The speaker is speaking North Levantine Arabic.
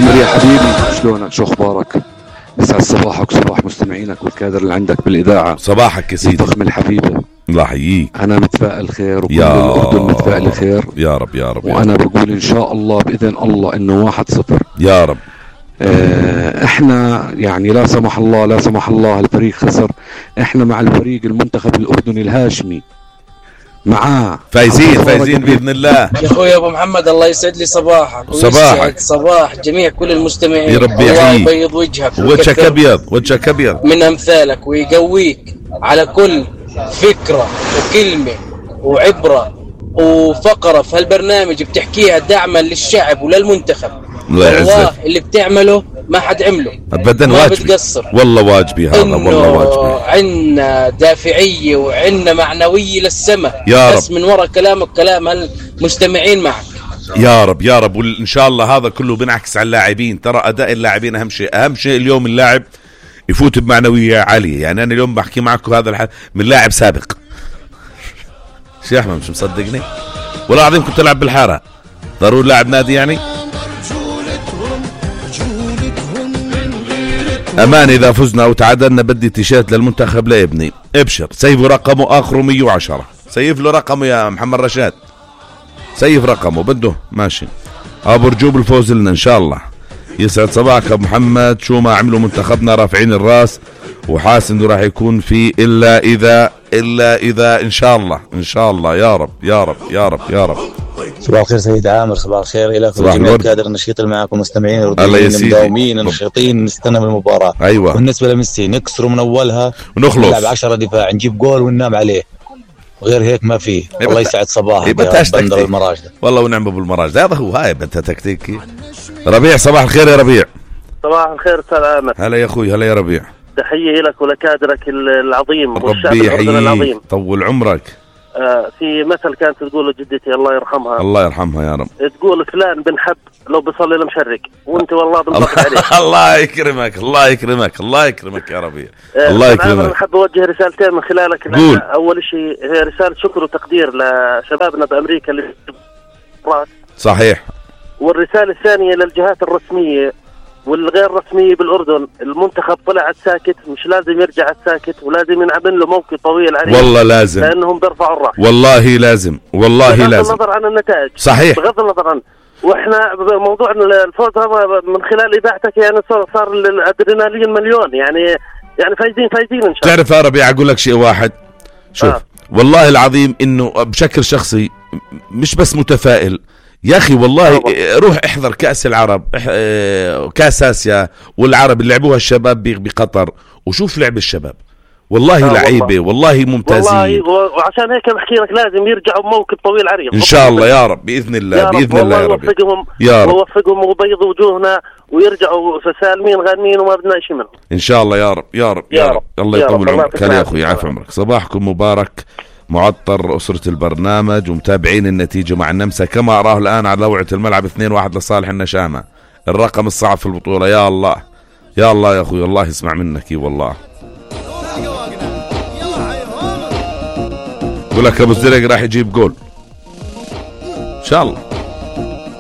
عمر يا حبيبي، شلونك؟ شو اخبارك؟ يسعد صباحك وصباح مستمعينك والكادر اللي عندك بالاذاعه. صباحك يا سيدي الفخم الحبيبه. الله يحييك. انا متفائل خير وكل الاردن متفائل خير يا رب يا رب. وانا بقول ان شاء الله باذن الله انه 1-0 يا رب. احنا يعني لا سمح الله الفريق خسر، احنا مع الفريق المنتخب الاردني الهاشمي معاه فايزين باذن الله. يا اخوي ابو محمد الله يسعد لي صباحك صباح جميع كل المستمعين. يا رب الله يبيض وجهك وجهك ابيض من امثالك ويقويك على كل فكره وكلمه وعبره وفقره في هالبرنامج بتحكيها دعما للشعب وللمنتخب. والله اللي بتعمله ما حد عمله ابدا، ما واجبي بتقصر. والله واجبي هذا، والله واجبي. عنا دافعيه وعنا معنويه للسماء بس من وراء كلامك كلام هالمستمعين معك. يا رب يا رب. وان شاء الله هذا كله بنعكس على اللاعبين. ترى اداء اللاعبين اهم شيء اليوم اللاعب يفوت بمعنويه عاليه. يعني انا اليوم بحكي معكم هذا من لاعب سابق. شيخ احمد مش مصدقني والله العظيم، كنت العب بالحاره ضروري لاعب نادي يعني. امان اذا فزنا او تعادلنا بدي تيشيرت للمنتخب لابني. ابشر، سيف رقمه اخره 110. سيف له رقمه يا محمد رشاد، سيف رقمه بده ماشي. ابو رجوب الفوز لنا ان شاء الله. يسعد صباحك ابو محمد. شو ما عملوا منتخبنا رافعين الراس وحاسس انه راح يكون في الا اذا ان شاء الله يا رب يا رب يا رب يا رب. صباح الخير سيد عامر، صباح الخير لك وجميع الكادر النشيط اللي معكم مستمعين المداومين النشيطين. نستنى بالمباراة. ايوه. بالنسبة لميسي نكسره من اولها ونخلص نلعب 10 دفاع نجيب جول وننام عليه، وغير هيك ما فيه. الله يسعد صباحك يا بندر المراجدة. والله ونعم بالمراجدة، هذا هو هاي بدها تكتيكي. ربيع صباح الخير يا ربيع. صباح الخير استاذ عامر. هلا يا اخوي، هلا يا ربيع. تحية لك ولكادرك العظيم والشعب الأردني العظيم. طول عمرك. في مثل كانت تقول جدتي الله يرحمها، الله يرحمها يا رب، تقول فلان بنحب لو بصلي لمشرق، وانت والله بالضبط عليك. الله يكرمك الله يكرمك الله يكرمك يا ربيع. الله يكرمك. انا حاب اوجه رسالتين من خلالك. اول شيء هي رسالة شكر وتقدير لشبابنا بامريكا اللي صحيح. والرسالة الثانية للجهات الرسمية والغير رسمية بالأردن. المنتخب طلع ساكت، مش لازم يرجع ساكت، ولازم ينعمل له موقف طويل عليه. والله لازم، لأنهم بيرفعوا الرأس. والله لازم بغض النظر عن النتائج. صحيح. بغض النظر عن، واحنا موضوع الفوز هذا من خلال إذاعتك يعني صار الأدرينالين مليون. يعني فايزين إن شاء الله. تعرف يا ربيع أقول لك شيء واحد. شوف والله العظيم إنه بشكل شخصي مش بس متفائل يا أخي والله. روح احضر كأس العرب، كأس آسيا والعرب اللي لعبوها الشباب بقطر، وشوف لعب الشباب والله لعيبة والله ممتازين والله. وعشان هيك بحكي لك لازم يرجعوا بموكب طويل عريض إن شاء الله يا رب بإذن الله بإذن الله يا رب ووفقهم وبيض وجوهنا ويرجعوا سالمين غانمين وما بدنا شيء منهم إن شاء الله يا رب يا رب يا رب. الله يطول عمرك. هلا يا أخوي، عافية عمرك. صباحكم مبارك معطر أسرة البرنامج ومتابعين النتيجة مع النمسا كما أراه الآن على لوعة الملعب 2-1 لصالح النشامة. الرقم الصعب في البطولة. يا الله يا الله يا أخوي، الله يسمع منك والله. يقول لك أبو الزرق راح يجيب جول إن شاء الله.